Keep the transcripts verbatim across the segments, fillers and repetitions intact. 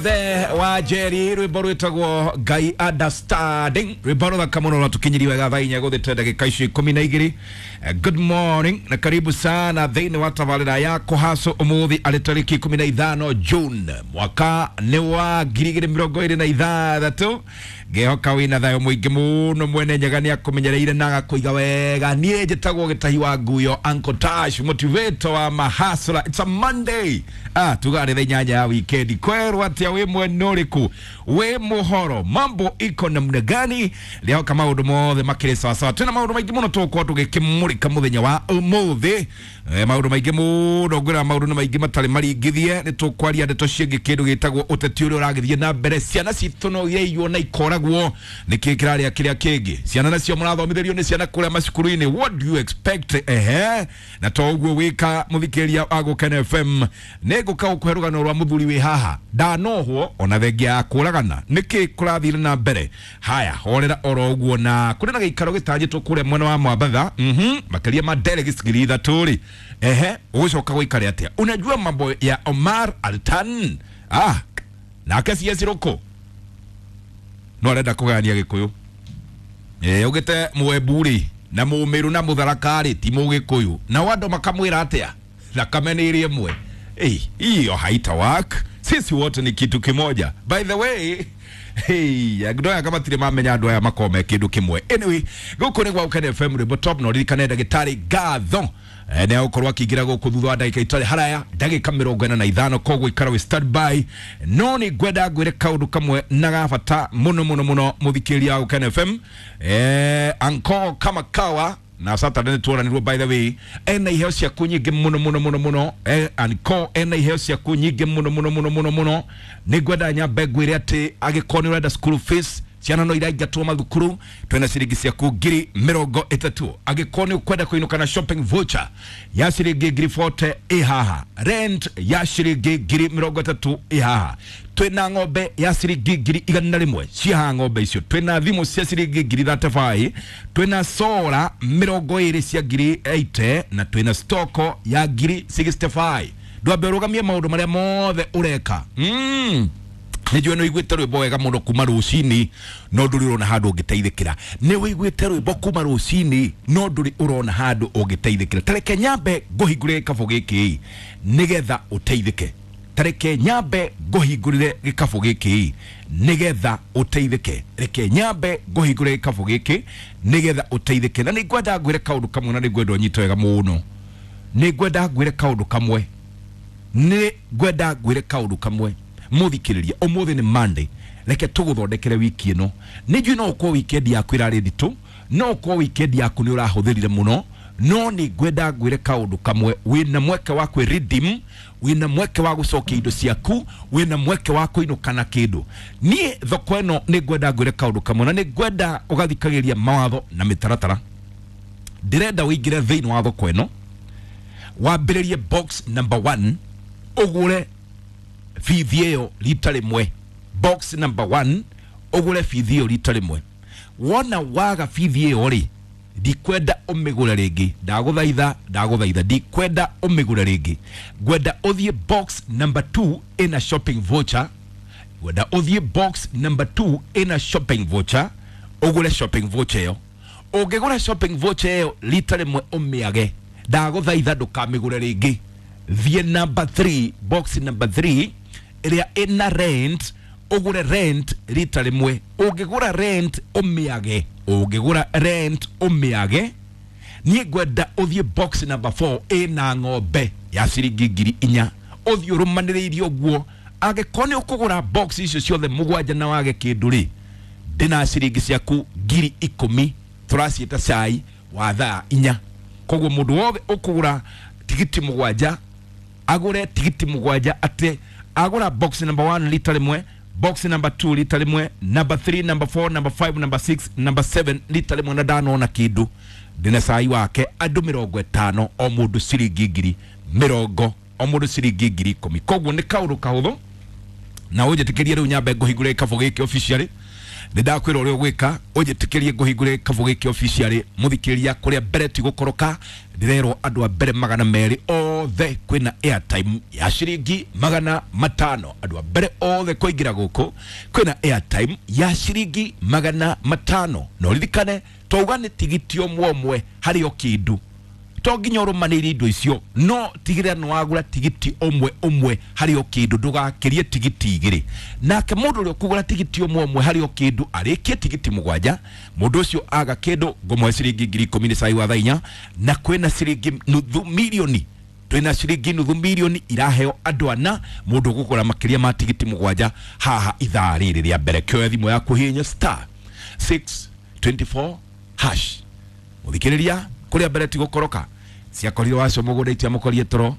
The wa Jerry rwimbo rwitagwo Ngai Understanding, rwimbo ruthaka muno rwatukinyiri wega thaa inya guthite ndagika icio ikumi na igiri. Good morning na karibu sana thiini wa tabarira ya kuhaco umuthi ari tariki ikumi na ithano June mwaka ni wa ngiri igiri mirongo iri na ithathatu. Ngihoka wina thayo muingi muno mwene Nyaga ni akumenyereire na agakuiga wega. Nie njitagwo Gitahi wa Nguyo, Uncle Tash, motivator wa mahasla. It's a Monday, ah tuga thaa inyanya ya weekend. Kwerwo atia wi mwena uriku, wi muhoro, mambo iko namna gani? Leo kama maundu mothe makiri sawa sawa, twina maundu maingi muno tugukorwo tugikimurika muthenya wa umuthi. E, maundu maingi muno ngwira maundu ni maingi matari maringithie. Ni tukwaria ndeto ciingi kindu gitagwo uteti uria uragithie na mbere. Ciana citu no ireiywo na ikoragwo niki kiraria kiria kingi. Ciana nacio murathomithirio ni ciana kuria macukuru-ini, what do you expect? Ehe, na to uguo wika muthikiria wa Gukena F M ni nguka gukuhe rugano rwa muthuri wi haha ndanohwo ona thengia ya kuragana niki kurathire na mbere. Haya, horera oro uguo na kuri na giikaro gitanyitwo kuria mwena wa Mwambatha, mhm makiria ma delegates ngiri ithatu ri. Ehe, ugucoka guikare atia? Unajua mambo ya Omar Altan, ah nake C S Ruku no arenda kugania Gikuyu. Eh, ugite Mwembu na Mumiru na Mutharaka ri ti Mugikuyu, na andu makamwira atia? Thakame ni iri imwe. Eh, hiyo haita work. Sisi wote ni kitu kimoja. By the way, hey, andu aya matirĩ mamenya andu aya makome kindu kimwe. Anyway, guku ni gwa Gukena F M rwimbo top, no ririkane ndagĩtarĩ Ngatho nĩ agũkorwo akĩingĩra gũkũ thutha wa ndagĩka itarĩ haraya ndagĩka mĩrongo ĩna na ithano, koguo ikara wĩ standby. No nĩ ngwenda ngwĩre kaũndũ kamwe na ga bata mũno mũno mũno mũthikĩrĩria wa Gukena F M. Eh, anko kama kawa na Saturday nĩ tuoranirwo, by the way, ena iheo ciaku nyingĩ mũno mũno mũno mũno. Eh, anko ena iheo ciaku nyingĩ mũno mũno mũno mũno mũno. Nĩ ngwenda nyambe ngwĩre atĩ angĩkorwo nĩ ũrenda school fees, ciana no iraingatwo mathukuru, twena ciringi ciaku ngiri mirongo itatu. Angĩkorwo nĩ ũkwenda kũinũka na shopping voucher ya ciringi ngiri forty ĩ haha, rent ya ciringi ngiri mirongo itatu ĩ haha, twina ng'ombe ya ciringi ngiri igana rimwe cia haha ng'ombe icio, twina thimu cia ciringi ngiri thirty five, twina solar mirongo ĩrĩ cia ngiri eighty na twina stoko ya ngiri sixty five. Ndwambe ũrũgamie maũndũ marĩa mothe ũreka. Mm. Nĩ njũĩ nĩ ũiguĩte rwĩmbo wega mũno kuma rũcinĩ no ndũrĩ ũrona handũ ũngĩteithĩkĩra. Nĩ ũiguĩte rwĩmbo kuma rũcinĩ no ndũrĩ ũrona handũ ũngĩteithĩkĩra. Tareke nyambe ngũhingũrĩre gĩkabũ gĩkĩ nĩgetha ũteithĩke. Tareke nyambe ngũhingũrĩre gĩkabũ gĩkĩ nĩgetha ũteithĩke. Reke nyambe ngũhingũrĩre gĩkabũ gĩkĩ nĩgetha ũteithĩke. Na nĩ ngwenda ngwĩre kaũndũ kamwe na nĩ ngwenda ũnyite wega mũno. Nĩ ngwenda ngwĩre kaũndũ kamwe. Nĩ ngwenda ngwĩre kaũndũ kamwe. Muthikiriria umuthi ni Monday, reke tuguthondekere wiki ino. Ni njui no ukorwo weekend yaku irari nditu, no ukorwo weekend yaku ni urahuthirire muno, no ni ngwenda ngwire kaundu kamwe. Wina mweke wa kwi redeem, wina mweke wa gucokia indo ciaku, wina mweke wa kuinuka na kindu. Nie thoko ino ni ngwenda ngwire kaundu kamwe na ni ngwenda ugathikagiria mawatho na mitaratara. Ndirenda uingire thiini wa thoko ino, wambiririe box number one, ugure bithi ĩyo rita rĩmwe. Box number one ũgũre bithi ĩyo rita rĩmwe. Wona waga bithi ĩyo rĩ, ndikwenda ũmĩgũre rĩngĩ. Ndagũthaitha, ndagũthaitha, ndikwenda ũmĩgũre rĩngĩ. Ngwenda ũthiĩ box number two ĩna shopping voucher. Ngwenda ũthiĩ box number two ĩna shopping voucher, ũgũre shopping voucher ĩyo. Ũngĩgũra shopping voucher ĩyo rita rĩmwe ũmĩage. Ndagũthaitha ndũkamĩgũre rĩngĩ. Thiĩ number three, box number three ĩrĩa ĩna rent, ũgũre rent rita rĩmwe. Ũngĩgũra rent ũmĩage. Ũngĩgũra rent ũmĩage. Niĩ ngwenda ũthiĩ box number four ĩna ng'ombe ya ciringi ngiri inya. Ũthiĩ ũrũmanĩrĩirie ũguo. Angĩkorwo nĩ ũkũgũra box icio ciothe mũgwanja na wage kĩndũ rĩ, ndĩna ciringi ciaku ngiri ikũmi tũraciĩta cai wa thaa inya. Koguo mũndũ wothe ũkũgũra tigiti mũgwanja agũre tigiti mũgwanja atĩ agũra box number one lita rĩmwe, box number two lita rĩmwe, number three, number four, number five, number six, number seven lita rĩmwe na ndanona kĩndũ, ndĩna cai wake andũ mĩrongo ĩtano o mũndũ ciringi ngiri mĩrongo o mũndũ ciringi ngiri ikũmi. Koguo nĩ kaũndũ kahũthũ Na ũnjĩtĩkĩrie rĩu nyambe ngũhingũre gĩkabũ gĩkĩ officially. Nĩ ndakwĩra ũrĩa ũgwĩka, ũnjĩtĩkĩrie ngũhingũre gĩkabũ gĩkĩ officially. Mũthikĩrĩria, kũrĩa mbere ti gũkoroka, ndĩrerwo andũ a mbere magana merĩ othe kwĩna airtime ya ciringi magana matano. Andũ a mbere othe kũingĩra gũkũ kwĩna airtime ya ciringi magana matano. Na ũririkane twauga nĩ tigiti ũmwe ũmwe harĩ o kĩndũ, to nginya ũrũmanĩire indo icio, no tigĩrĩra nĩ wagũra tigiti ũmwe ũmwe harĩ o kĩndũ, ndũgakĩrie tigiti igĩrĩ. Nake mũndũ ũrĩa ũkũgũra tigiti ũmwe ũmwe harĩ o kĩndũ arĩkie tigiti mũgwanja, mũndũ ũcio aga kĩndũ ngũmũhe ciringi ngiri ikũmi nĩ cai wa thaa inya. Na kwĩna ciringi nuthu milioni, twĩna ciringi nuthu milioni iraheo andũ ana, mũndũ ũkũgũra makĩria ma tigiti mũgwanja haha ithaa rĩrĩ rĩa mbere. Kĩoya thimũ yaku, hihinya star six twenty four hash. Mũthikĩrĩria, kũrĩa mbere ti gũkoroka, ciakorire wacio mũgũnda itiamũkorie toro.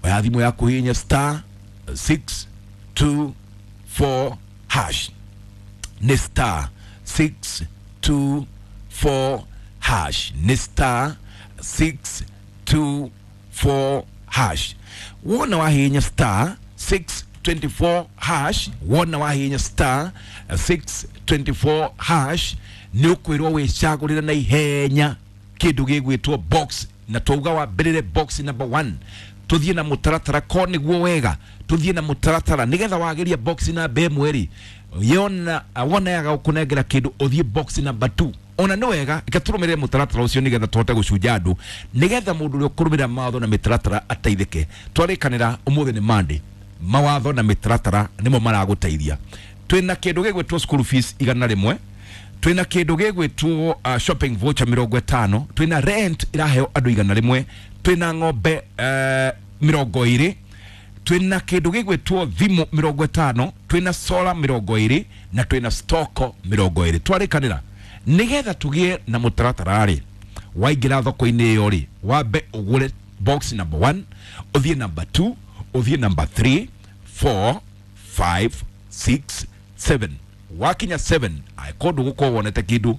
Oya thimũ yaku, hihinya star six two four hash. Nĩ star six two four hash, nĩ star six two four hash. Wona wahihinya star six twenty four hash, wona wahihinya star six twenty four hash, nĩ ũkwĩrwo wĩcagũrĩre na ihenya kĩndũ gĩgwĩtwo box. Na twauga wambĩrĩre box number one, tuthiĩ na mũtaratara ko nĩguo wega, tuthiĩ na mũtaratara nĩgetha wageria box namba ĩmwe rĩ, yona wona yaga gũkũnengera kĩndũ, ũthiĩ box number two. Ona nĩ wega reke tũrũmĩrĩre mũtaratara ũcio nĩgetha tũhote gũcunja andũ, nĩgetha mũndũ ũrĩa ũkũrũmĩrĩra mawatho na mĩtaratara ateithĩke. Twarĩkanĩra ũmũthĩ nĩ Monday, mawatho na mĩtaratara nĩmo maragũteithia. Twĩna kĩndũ gĩgwĩtwo school fees igana rĩmwe, twĩna kĩndũ gĩgwĩtwo uh, shopping voucher mĩrongo ĩtano, twĩna rent ĩraheo andũ igana rĩmwe, twĩna ng'ombe uh, mĩrongo ĩrĩ, twĩna kĩndũ gĩgwĩtwo thimũ mĩrongo ĩtano, twĩna solar mĩrongo ĩrĩ, na twĩna stoko mĩrongo ĩrĩ. Twarĩkanĩra nĩgetha tũgĩe na mũtaratara rĩ, waingĩra thoko-inĩ ĩyo rĩ, wambe ũgũre box number one, ũthiĩ number two, ũthiĩ number three, four, five, six, seven. Wakinya seven, angĩkorwo ndũgũkorwo wonete kĩndũ,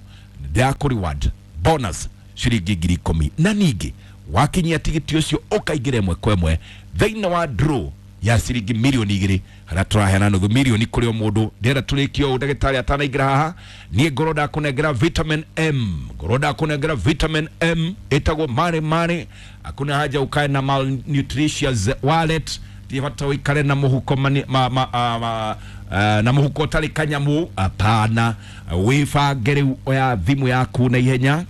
ndĩrakũ reward bonus ciringi ngiri ikũmi. Na ningĩ wakinyia tigiti ũcio ũkaingĩra ĩmwe kwa ĩmwe thĩinĩ wa draw ya ciringi milioni igĩrĩ, harĩa tũraheana nuthu milioni kũrĩ o mũndũ. Ndĩrenda tũrĩkie ũũ ndagĩtarĩ atanaingĩra haha. Niĩ ngorwo ndakũnengera vitamin M, ngorwo ndakũnengera vitamin M ĩtagwo mare mare. Hakuna haja ukae na malnutritious wallet, ti bata ũikare na mũhuko mani, ma, ma, ma, ma, uh, na mũhuko ũtarĩ kanyamu. Hapana, wĩbange rĩu. Oya thimũ yaku na ihenya,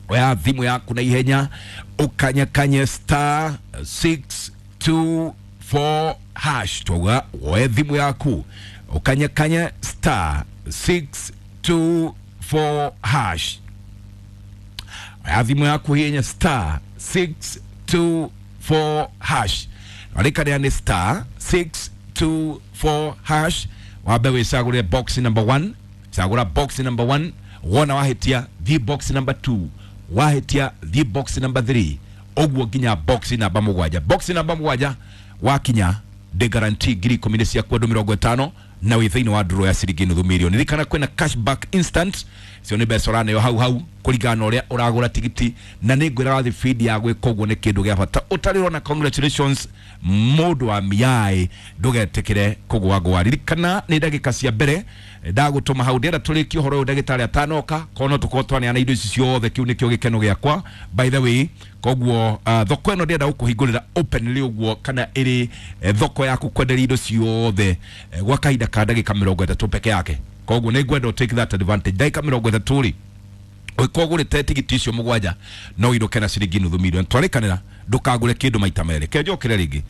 oya thimũ yaku na ihenya, ũkanyakanye star six two four hash. Twauga woe thimũ yaku ũkanyakanye star six two four hash. Oya thimũ yaku, hihinya star six two four hash. Warĩkanĩra nĩ star six two four hash. Wambe wĩcagũre box number one, cagũra box number one. Wona wahĩtia, thiĩ box number two, wahĩtia, thiĩ box number three, ũguo nginya box namba mũgwanja. Box namba mũgwanja wakinya, ndĩ guarantee ngiri ikũmi nĩ ciaku andũ mĩrongo ĩtano, na wĩ thĩinĩ wa ndũrũ ya ciringi nuthu milioni. Ririkana kwĩna cashback instant, cio nĩ mbeca ũraneo hau hau kũringana na ũrĩa ũragũra tigiti. Na nĩ ngwĩraga thibindi ya gwĩka ũguo nĩ kĩndũ gĩa bata ũtarĩ ũrona. Congratulations, mũndũ wa miai, ndũgetĩkĩre kũgwagwa. Ririkana nĩ ndagĩka cia mbere ndagũtũma hau. Ndĩrenda tũrĩkie ũhoro ũyũ ndagĩtarĩ atanoka, kono tũkorwo twaneana indo ici ciothe. Kĩu nĩkĩo gĩkeno gĩakwa, by the way. Koguo uh, thoko ĩno ndĩrenda gũkũhingũrĩra openly ũguo, kana ĩrĩ eh, thoko yaku kwenderia indo ciothe eh, gwa kahinda ka ndagĩka mĩrongo ĩtatũ peke yake. Koguo nĩ ngwenda take that advantage. Ndagĩka mĩrongo ĩtatũ rĩ, ũngĩkorwo ũgũrĩte tigiti icio mũgwanja, no ũinũke na ciringi nuthu milioni. Twarĩkanĩra ndũkagũre kĩndũ maita merĩ. Ke njokere rĩngĩ,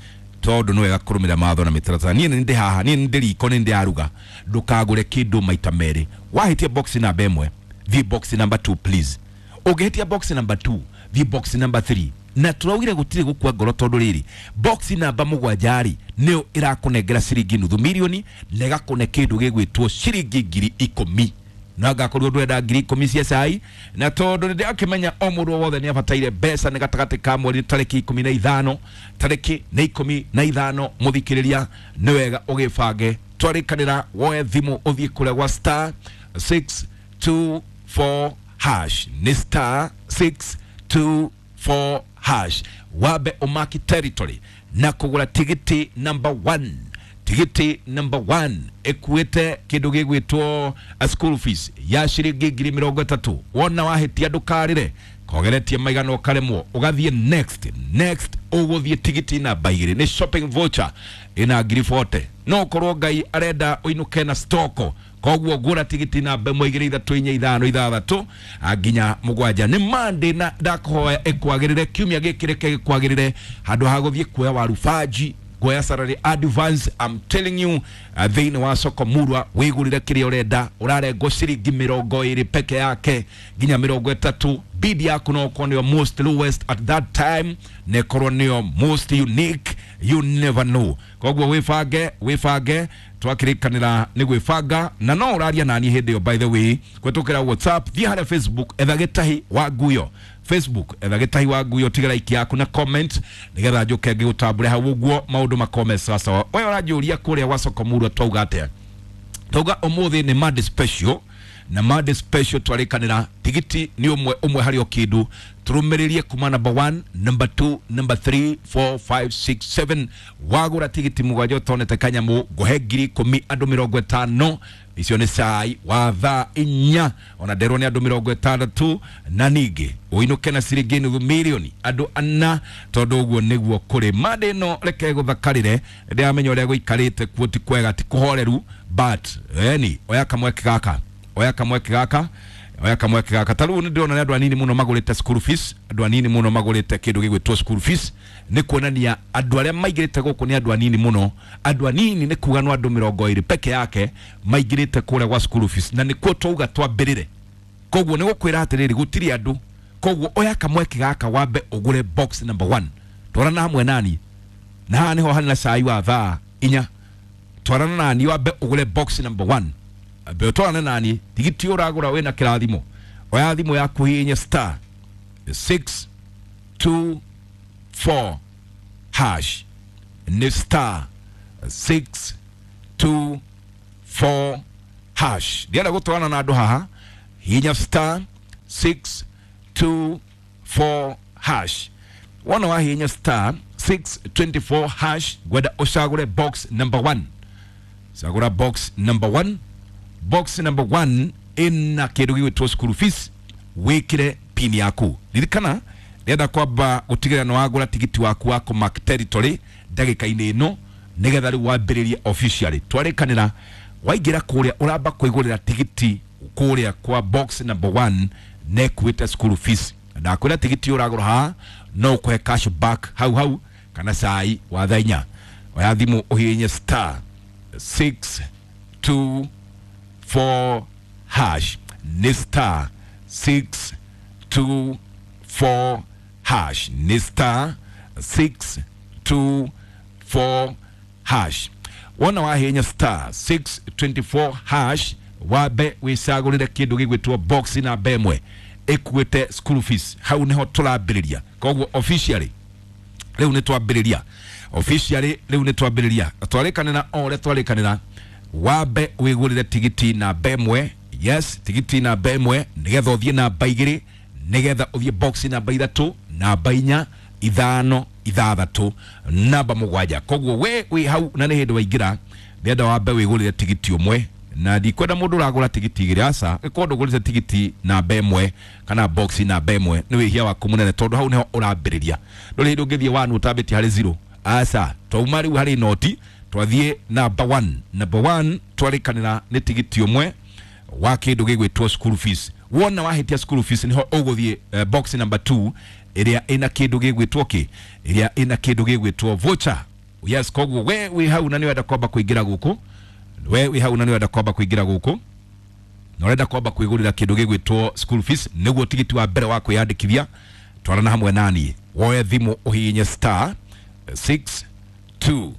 tondũ nĩ wega kũrũmĩrĩra mawatho na mĩtaratara. Niĩ nĩ ndĩ haha, niĩ nĩ ndĩ riko, nĩ ndĩraruga. Ndũkagũre kĩndũ maita merĩ. Wahĩtia box namba ĩmwe, thiĩ box number two, please. Ũngĩhĩtia box number two, thiĩ box number three. Na tũraugire gũtirĩ gũkua ngoro, tondũ rĩrĩ box namba mũgwanja rĩ, nĩyo ĩrakũnengera ciringi nuthu milioni na ĩgakũne kĩndũ gĩgwĩtwo ciringi ngiri ikũmi. Na ngakorwo ndwenda ngiri ikũmi cia cai, na tondũ nĩ ndĩrakĩmenya o mũndũ o wothe nĩ abataire mbeca, nĩ gatagatĩ ka mweri, tarĩki ikũmi na ithano, tarĩki nĩ ikũmi na ithano. Mũthikĩrĩria, nĩ wega ũgĩbange. Twarĩkanĩra woe thimũ ũthiĩ kũrĩa gwa star six two four hash, nĩ star six two four hash. Wambe ũmaki territory na kũgũra tigiti number one. Tigiti number one ekuĩte kĩndũ gĩgwĩtwo a school fees ya ciringi ngiri mĩrongo ĩtatũ. Wona wahĩtia ndũkarĩre, kogeretie maigana ũkaremwo, ũgathiĩ next next, ũgũthiĩ tigiti namba igĩrĩ nĩ shopping voucher ĩna ngiri forty. No ũkorwo Ngai arenda ũinũke na stoko, koguo ngũra tigiti namba ĩmwe igĩrĩ ithatũ inya ithano ithathatũ nginya mũgwanja. Nĩ Monday na ndakũhoya ĩkwagĩrĩre, kiumia gĩkĩ reke gĩkwagĩrĩre, handũ ha gũthiĩ kuoya waru banji, kuoya salary advance. I'm telling you, thĩinĩ wa soko murwa wĩgũrĩre kĩrĩa ũrenda, ũrarengwo ciringi mĩrongo ĩrĩ peke yake nginya mĩrongo ĩtatũ. Bid yaku no ũkorwo nĩyo most lowest at that time, na ĩkorwo nĩyo most unique, you never know. Koguo wĩbange, wĩbange, twakĩrĩkanĩra nĩ gwĩbanga. Na no ũraria nani hĩndĩ ĩyo, by the way, kũhetũkĩra WhatsApp, thiĩ harĩa Facebook, etha Gĩtahi wa Nguyo. Facebook, etha Gĩtahi wa Nguyo, tiga like yaku na comment nĩgetha njũke ngĩgũtambũre hau ũguo maũndũ makome sawasawa. We ũranjũria kũrĩa gwa soko murwa twauga atĩa? Twauga ũmũthĩ nĩ Monday special, na Monday special twarĩkanĩra tigiti nĩ ũmwe ũmwe harĩ o kĩndũ. Tũrũmĩrĩrie kuma number one, number two, number three, four, five, six, seven. Wagũra tigiti mũgwanja ũtonete kanyamũ, ngũhe ngiri ikũmi andũ mĩrongo ĩtano. Icio nĩ cai wa thaa inya, ona nderwo nĩ andũ mĩrongo ĩtandatũ, na ningĩ ũinũke na ciringi nuthu mirioni andũ ana, tondũ ũguo nĩguo kũrĩ. Monday ĩno reke gũthakarĩre, ndĩramenya ũrĩa gũikarĩte kuo ti kwega, ti kũhoreru, but eni oya kamweke gaka, oya kamweke gaka, oya kamweke gaka. Ta rĩu nĩ ndĩrona nĩ andũ anini mũno magũrĩte school fees, andũ anini mũno magũrĩte kĩndũ gĩgwĩtwo school fees. Nĩ kuonania andũ arĩa maingĩrĩte gũkũ nĩ andũ anini mũno. Andũ anini nĩ kuga no andũ mĩrongo ĩrĩ peke yake maingĩrĩte kũrĩa gwa school fees, na nĩkuo twauga twambĩrĩre. Koguo nĩ gũkwĩra atĩrĩrĩ, gũtirĩ andũ. Koguo oya kamweke gaka wambe ũgũre box number one. Twarana hamwe nani, na haha nĩho harĩ na cai wa thaa inya. Twarana nani wambe ũgũre box number one. Ambe ũtwarane nani, tigiti ũragũra wĩna kĩrathimo. Oya thimũ yaku hihinya star six two four hash, nĩ star six two four hash. Ndienda gũtwarana na andũ haha, hihinya star six two four hash. Wona wahihinya star six twenty four hash, ngwenda ũcagũre box number one. Cagũra box number one. Box number one ĩna kĩndũ gĩgwĩtwo school fees, wĩkĩre pin yaku. Ririkana ndĩrenda kwamba gũtigĩrĩra nĩ wagũra tigiti waku wa kũmark territory ndagĩka-inĩ ĩno, nĩgetha rĩu wambĩrĩrie officially. Twarĩkanĩra waingĩra kũrĩa ũramba kwĩgũrĩra tigiti kũrĩa kwa box number one na ĩkuĩte school fees. Ndakwĩra tigiti ũragũra haha no ũkũhe cash back hau hau kana cai wa thaa inya. Oya thimũ ũhihinye star six two four hash, nĩ star six two four hash, nĩ star six two four hash. Wona wahihinya star six twenty four hash, wambe wĩcagũrĩre kĩndũ gĩgwĩtwo box namba ĩmwe ĩkuĩte school fees. Hau nĩho tũrambĩrĩria. Koguo officially rĩu nĩ twambĩrĩria, officially rĩu nĩ twambĩrĩria. Twarĩkanĩra o ũrĩa twarĩkanĩra, wambe wĩgũrĩre tigiti namba ĩmwe. Yes, tigiti namba ĩmwe nĩgetha ũthiĩ namba igĩrĩ, nĩgetha ũthiĩ box namba ithatũ, namba inya, ithano, ithathatũ, namba mũgwanja. Koguo we wĩ hau na nĩ hĩndĩ waingĩra, ndĩrenda wambe wĩgũrĩre tigiti ũmwe, na ndikwenda mũndũ ũragũra tigiti igĩrĩ, aca. Ĩkorwo ndũgũrĩte tigiti namba ĩmwe kana box namba ĩmwe, nĩ wĩhia waku mũnene, tondũ hau nĩho ũrambĩrĩria. Ndũrĩ hĩndĩ ũngĩthiĩ one ũtambĩtie harĩ zero, aca. Twauma rĩu harĩ noti, twathiĩ namba one. Number one twarĩkanĩra nĩ tigiti ũmwe wa kĩndũ gĩgwĩtwo school fees. Wona wahĩtia school fees, nĩho ũgũthiĩ uh, box number two ĩrĩa ĩna kĩndũ gĩgwĩtwo kĩ, ĩrĩa ĩna kĩndũ gĩgwĩtwo voucher. Yes, koguo we wĩ hau na nĩ wenda kwamba kũingĩra gũkũ, we wĩ hau na nĩ wenda kwamba kũingĩra gũkũ na ũrenda kwamba kwĩgũrĩra kĩndũ gĩgwĩtwo school fees, nĩguo tigiti wa mbere wa kwĩyandĩkithia, twarana hamwe naniĩ, woe thimũ ũhihinye star six two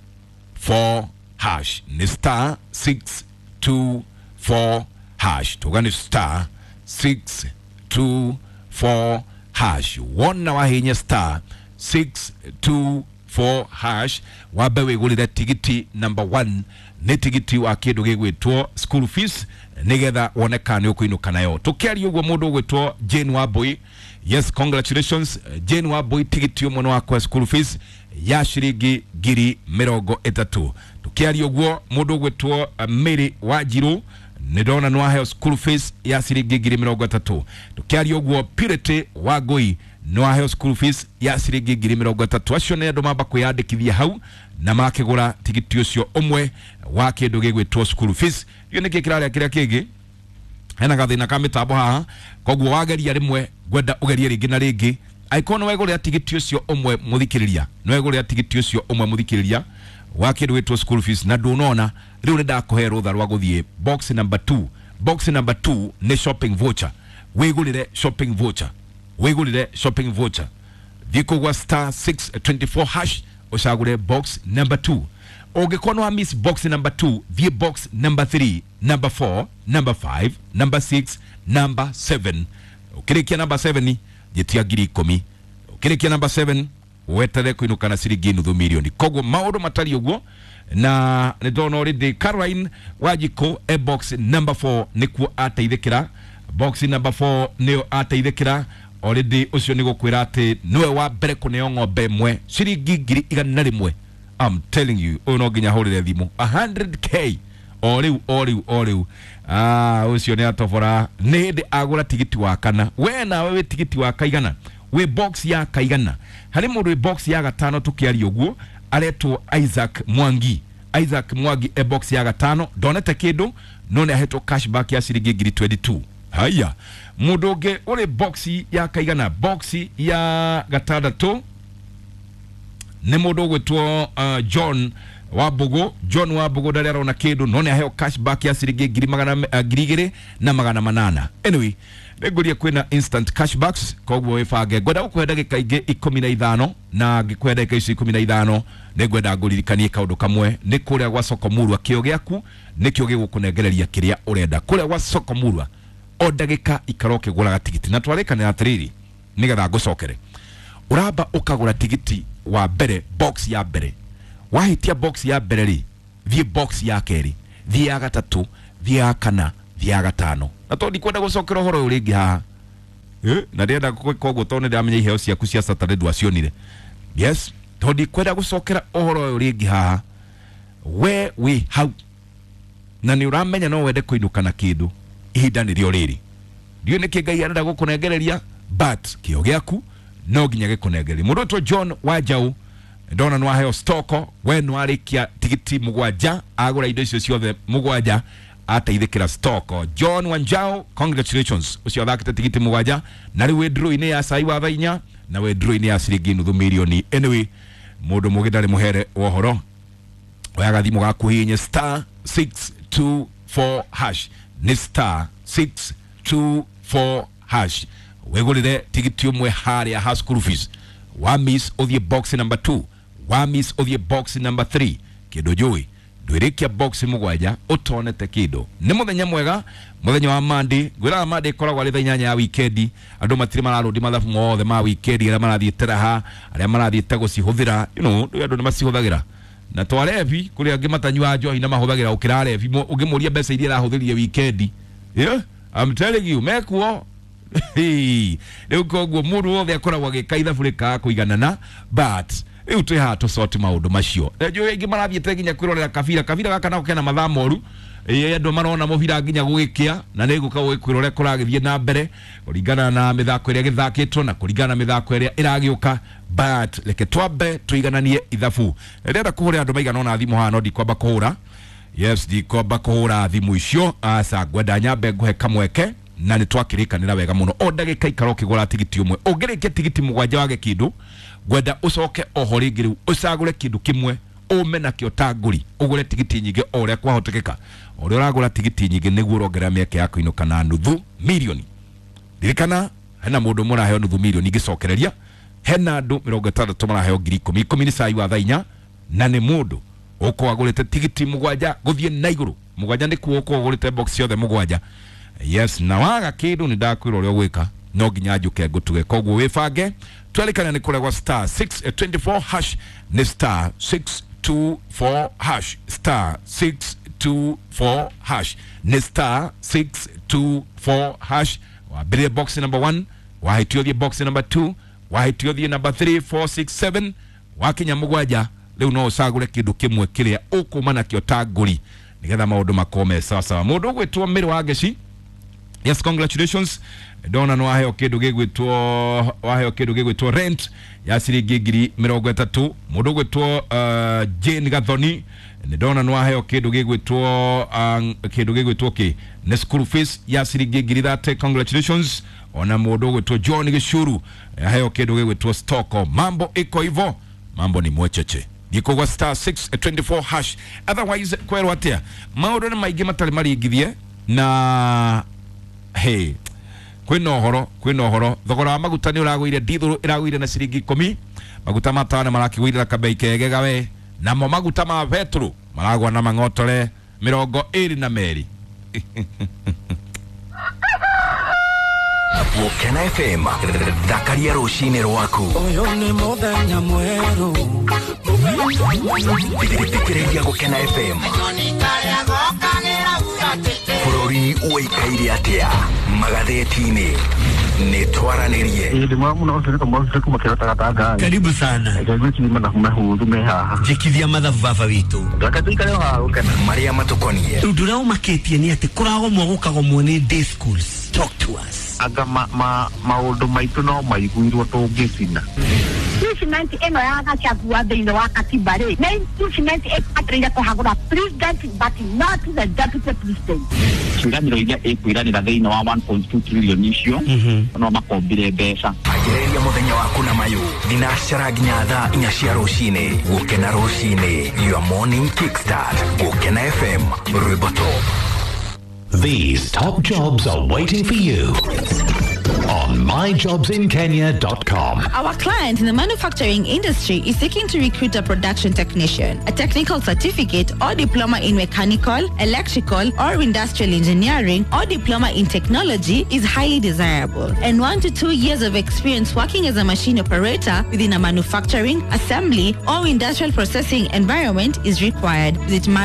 four hash, nĩ star six two four hash. Tuga nĩ star six two four hash. Wona wahihinya star six two four hash, wambe wĩgũrĩre tigiti number one, nĩ tigiti wa kĩndũ gĩgwĩtwo school fees, nĩgetha wone kana nĩ ũkũinũka nayo. Tũkĩaria ũguo mũndũ ũgwĩtwo Jane Wambui, yes, congratulations Jane Wambui, tigiti ũmwe nĩ wakwa school fees ya ciringi ngiri mĩrongo ĩtatũ. Tukiaria uguo mundu gwitwo Mary Wanjiru nĩ ndona nĩ waheo school fees ya ciringi ngiri mĩrongo ĩtatũ. Tukiaria ũguo Purity Wangui nĩ waheo school fees ya ciringi ngiri mĩrongo ĩtatũ. Acio nĩ andũ mamba kwĩyandĩkithia hau na makĩgũra tigiti ũcio ũmwe wa kĩndũ gĩgwĩtwo school fees. Gĩo nĩkĩ kĩrarĩa kĩrĩa kĩngĩ hena gathĩna ka mĩtambo haha, koguo wageria rĩmwe ngwenda ũgerie rĩngĩ na rĩngĩ. Angĩkorwo nĩ wegũrĩra tigiti ũcio ũmwe mũthikĩrĩria, nĩ wegũrĩra tigiti ũcio ũmwe mũthikĩrĩria wa kĩndũ gĩtwo school fees na ndũnona, rĩu nĩ ndakũhe rũtha rwa gũthiĩ box number two. Box number two nĩ shopping voucher. Wĩgũrĩre shopping voucher, wĩgũrĩre shopping voucher, thiĩ kũgwa star six twenty four hash ũcagũre box number two. Ũngĩkorwo nĩ wa miss box number two, thiĩ box number three, number four, number five, number six, number seven. Ũkĩrĩkia number seven njĩtia ngiri ikũmi. Ũkĩrĩkia number seven wetere kuinuka na ciringi nuthu milioni. Koguo maũndũ matariĩ ũguo, na nĩ ndona already Caroline Wanjikũ e box number four nĩkuo ateithĩkĩra. Box number four nĩyo ateithĩkĩra already. Ũcio nĩ gũkwĩra atĩ nĩwe wa mbere kũneo ng'ombe ĩmwe ciringi ngiri igana rĩmwe. I'm telling you, ũyũ no nginya hũrĩre thimũ a hundred K o rĩu o rĩu o rĩu. Ah, ũcio nĩ atobora nĩ hĩndĩ agũra tigiti wa kana. We nawe wĩ tigiti wa kaigana, wĩ box ya kaigana. Harĩ mũndũ wĩ box ya gatano tũkĩaria ũguo aretwo Isaac Mwangi. Isaac Mwangi e box ya gatano, ndonete kĩndũ no nĩ ahetwo cashback ya ciringi ngiri twenty two. Haya, mũndũ ũngĩ ũrĩ box ya kaigana, box ya gatandatũ nĩ mũndũ ũgwĩtwo uh, John Wambugu. John Wambugu ndarĩ arona kĩndũ no nĩ aheo cashback ya ciringi ngiri magana uh, ngiri igĩrĩ na magana manana. Anyway, nĩngũria kwĩna instant cashbacks, koguo wĩbange. Ngwenda gũkũhe ndagĩka ingĩ ikũmi na ithano, na ngĩkũhe ndagĩka icio ikũmi na ithano nĩngwenda ngũririkanie kaũndũ kamwe. Nĩ kũrĩa gwa Soko Murwa, kĩo gĩaku nĩkĩo gĩgũkũnengereria kĩrĩa ũrenda. Kũrĩa gwa Soko Murwa o ndagĩka ikara ũkĩgũraga tigiti, na twarĩkanĩra atĩrĩrĩ nĩgetha ngũcokere. Ũramba ũkagũra tigiti wa mbere, box ya mbere. Wahitia box ya mbere rĩ, thiĩ box ya kerĩ, thiĩ ya gatatũ, thiĩ ya kana, thiĩ ya gatano. Na tondũ ndikwenda gũcokera ũhoro ũyũ rĩngĩ haha, eh, na ndĩrenda gwĩka ũguo tondũ nĩndĩramenya iheo ciaku cia Saturday ndwacionire. Yes, tondũ ndikwenda gũcokera ũhoro ũyũ rĩngĩ haha, we wĩ hau na nĩ ũramenya no wende kũinũka na kĩndũ, ihinda nĩrĩo rĩrĩ. Ndiũĩ nĩkĩ Ngai arenda gũkũnengereria, but kĩo gĩaku no nginya gĩkũnengererie. Mũndũ ũtwo John Wanjaũ ndona nĩ waheo stoko, we nĩ warĩkia tigiti mũgwanja, agũra indo icio ciothe mũgwanja, ateithĩkĩra stoko. John Wanjao, congratulations, ũcio athakĩte tigiti mũgwanja na rĩu wĩ draw-inĩ ya cai wa thaa inya na wĩ draw-inĩ ya ciringi nuthu milioni. Anyway, mũndũ mũgĩ ndarĩ mũhere wa ũhoro. Oya gathimũ gaku hihinye star six two four hash, nĩ star six two four hash, wĩgũrĩre tigiti ũmwe harĩa ha school fees. Wa miss ũthiĩ box number two, wa miss ũthiĩ box number three. Kĩndũ njũĩ ndwĩrĩkia box mũgwanja ũtonete kĩndũ. Nĩ mũthenya mwega, mũthenya wa Monday. Ngwĩraga Monday ĩkoragwo arĩ thaa inyanya ya wikendi. Andũ matirĩ mararũndi mathabu mothe ma wikendi, arĩa marathiĩte raha, arĩa marathiĩte gũcihũthĩra, you know, andũ nĩ macihũthagĩra. Na twarebi kũrĩ angĩ matanyuaga njohi na mahũthagĩra gũkĩra arebi. Ũngĩmũria mbeca iria arahũthĩrire wikendi, yeah, I'm telling you, mekuo. Rĩu koguo mũndũ wothe akoragwo agĩka ithabu rĩkaga kũiganana, but rĩu twĩ haha tũcoti maũndũ macio. Njũĩ aingĩ marathiĩte nginya kwĩrorera kabira. Kabira gaka nako kena mathaa moru. Ĩĩ, andũ marona mũbira nginya gũgĩkĩa, na nĩ ngũka gũgĩkwĩra ũrĩa kũragĩthiĩ na mbere kũringana na mĩthako ĩrĩa ĩgĩthakĩtwo na kũringana na mĩthako ĩrĩa ĩragĩũka. But reke twambe tũigananie ithabu. Ndĩrenda kũhũrĩra andũ maigana ũna thimũ haha, no ndikwamba kũhũra. Yes, ndikwamba kũhũra thimũ icio. Aca, ngwenda nyambe ngũhe kamweke na nĩ twakĩrĩkanĩra wega mũno. O ndagĩka ikara ũkĩgũra tigiti ũmwe. Ũngĩrĩkia tigiti mũgwanja wage kĩndũ, ngwenda ũcoke oho rĩngĩ rĩu ũcagũre kĩndũ kĩmwe ũme nakĩo ta ngũri, ũgũre tigiti nyingĩ o ũrĩa kwahotekeka. O ũrĩa ũragũra tigiti nyingĩ nĩguo ũrongerera mĩeke ya kũinũka na nuthu milioni. Ririkana hena mũndũ ũmwe ũraheo nuthu milioni ngĩcokereria, hena andũ mĩrongo ĩtandatũ maraheo ngiri ikũmi. Ikũmi nĩ cai wa thaa inya, na nĩ mũndũ ũkorwo agũrĩte tigiti mũgwanja gũthiĩ na igũrũ. Mũgwanja nĩkuo ũkorwo ũgũrĩte box ciothe mũgwanja. Yes, na waga kĩndũ nĩ ndakwĩra ũrĩa ũgwĩka, no nginya njũke ngũtuge. Koguo wĩbange, twerĩkana nĩ kũrĩa gwa star six twenty four hash, nĩ star six two four hash, star six two four hash, nĩ star six two four hash. Wambĩrĩrie box number one, wahĩtio ũthiĩ box number two, wahĩtio ũthiĩ number three, four, six, seven, wakinya mũgwanja Rĩu no ũcagũre kĩndũ kĩmwe kĩrĩa ũkũma nakĩo ta ngũri nĩgetha maũndũ makorwo me sawasawa. Mũndũ ũgwĩtwo Mĩrĩ wa Ngeci, yes, congratulations, ndona no waheo kindu gigwitwo waheo kindu gigwitwo rent ya ciringi ngiri mirongo itatu. Mundu gwitwo uh, Jane Gathoni, ndona no waheo kindu gigwitwo uh, kindu gigwitwo ki ne school fees ya ciringi ngiri thate, congratulations. Ona mundu gwitwo John Gicuru aheo kindu gigwitwo stoko. Mambo iko hivyo, mambo ni mwecheche gikogwa star six twenty-four hash. Otherwise kwerwo atia maundu ni maingi matari maringithie na hey kwina uhoro kwina uhoro thogora wa maguta ni uragwire ndithuru iragwire na ciringi ikumi. Maguta ma tawa marakigwirira kabei kege gawe, namo maguta ma petro maragwa na mang'otore mirongo iri na meri. Gukena F M thakaria rucini rwaku. Uyu ni muthenya mweru. Thikĩrĩria Gukena F M. Bũrũri ũikaire atĩa magathĩti-inĩ nĩ twaranĩrie. Ĩĩ ndĩ mũno ũcio nĩ kamwe kuma kĩrota gatanga. Karibu sana. Ngwĩciria mathabu mahũthũ me haha. Njĩkithia mathabu baba witũ. Reke tũikare o haha Gũkena. Marĩa matũkoniĩ. Ũndũ ũrĩa ũmakĩtie nĩ atĩ kũragomwo gũkagomwo nĩ day schools. Talk to us. Anga ma ma maũndũ maitũ no maiguirwo tũngĩcina. Impeachment ĩno ya Gachagua thĩinĩ wa katiba rĩ, nĩ impeachment ĩbataire kũhagũra president but not the deputy president. Ciĩranĩro iria ĩkwĩranĩra thĩinĩ wa one point two trillion icio no makombire mbeca. Anjĩrĩria mũthenya waku na mayũ thinacara nginya thaa inya cia rũcinĩ. Gũkena rũcinĩ, your morning kickstart. Gũkena F M, rwĩmbo top. These top jobs are waiting for you on my jobs in kenya dot com. Our client in the manufacturing industry is seeking to recruit a production technician, a technical certificate or diploma in mechanical, electrical or industrial engineering or diploma in technology is highly desirable, and one to two years of experience working as a machine operator within a manufacturing, assembly or industrial processing environment is required. Visit my